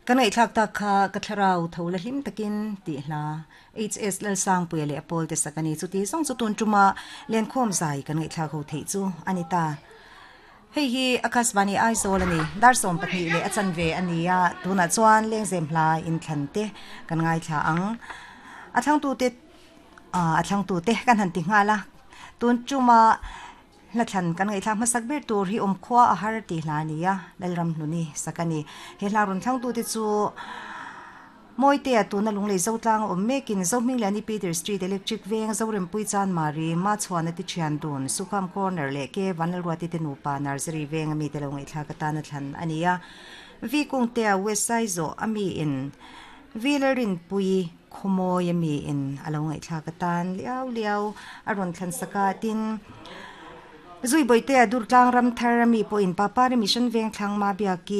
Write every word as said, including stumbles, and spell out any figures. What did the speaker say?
Kan ngaihthlak tak kha ka thlarau tho la hlim takin tih hla H S Lalsangpuia leh a pawl te sak a ni. Chuti zawng chu tun tuma lenkhawm zai kan ngaihthlak ho theih chu a ni ta. Hei hi Akashvani Aizawl a ni. Dar sawm pahnih leh a chanve a ni a, tunah chuan lengzem hla inthlan te kan ngaithla ang. A thlangtute a thlangtute kan han ti nghal a. Tun tuma hlathlan kan ngaihthlak hmasak ber tur hi awmkhua a har tih hla a ni a, Lalramhluni sak a ni. He hla rawn thlangtute chu Mawitea tuna Lunglei Zotlang a awm mekin Zohmingliani Peter Street Electric Veng Zorempui Chanmari Machhuana ti thian dun Sukham Corner leh Ke Vanlalruati te nupa Nursery Veng ami te lo ngaihthlak atan a thlan a ni a. V Kungtea West Saizawh ami in V Lalrinpui Khawmawi ami in a lo ngaihthlak atan liau liau a rawn thlan sak a tin Zui Bawitea Durtlang Ramthar ami pawhin Papari Mission Veng Thlang Ma Biaki